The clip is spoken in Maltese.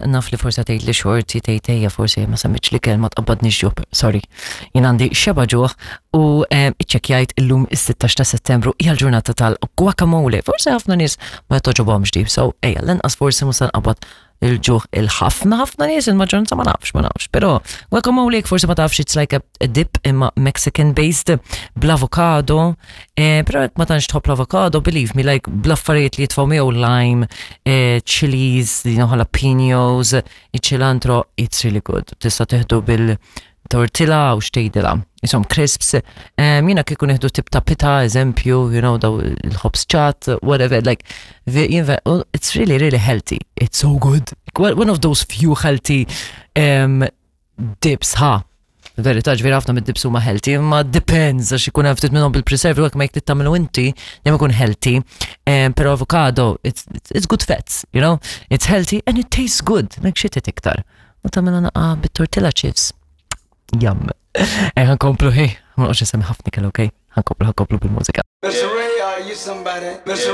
Naf li forsi tgħid li xorti tgħid ejja forsi ma semmitx li kelma tqabbadni ġuħ, sorry. Jien għandi xeba ġuħ u iċċekkjajt illum is-16 ta' Settembru hija l-ġurnata tal-guacamole. Forsi ħafna nies ma toġobhomx di, so ejja l-inqas forsi mhux se nqabbad il-ġuħ il-ħafna ħafna nies, il-maġġoranza ma nafx, ma nafx. Però guacamole forsi ma tafx it's like a dip imma Mexican based bl-avocado, però jekk ma tantx tħobb l-avocado, believe me, like bl-affarijiet li jitfgħu miegħu lime, chilies, you know, jalapenos, iċ-cilantro, it's really good. Tista' teħdu bil-tortilla u xtejdila. Isom crisps, jiena kieku nieħdu tip ta' pita, eżempju, you know, daw il-ħobż ċatt, whatever, like, it's really, really healthy. It's so good. One of those few healthy dips, ha. Verità, ġifieri ħafna mid-dips huma healthy, imma depends, għax ikun hemm ftit minnhom bil-preserve, u ma jekk tagħmlu inti, dejjem ikun healthy. Però avocado, it's good fats, you know? It's healthy and it tastes good, like xi iktar. U tagħmilha naqa bit-tortilla chips. Yum. Ħa nkomplu, hey, ma noqgħodx nsemmi ħafna ikel, okay? Ħa nkomplu, ħa nkomplu bil-mużika. Mr. Ray, are you somebody? Mr.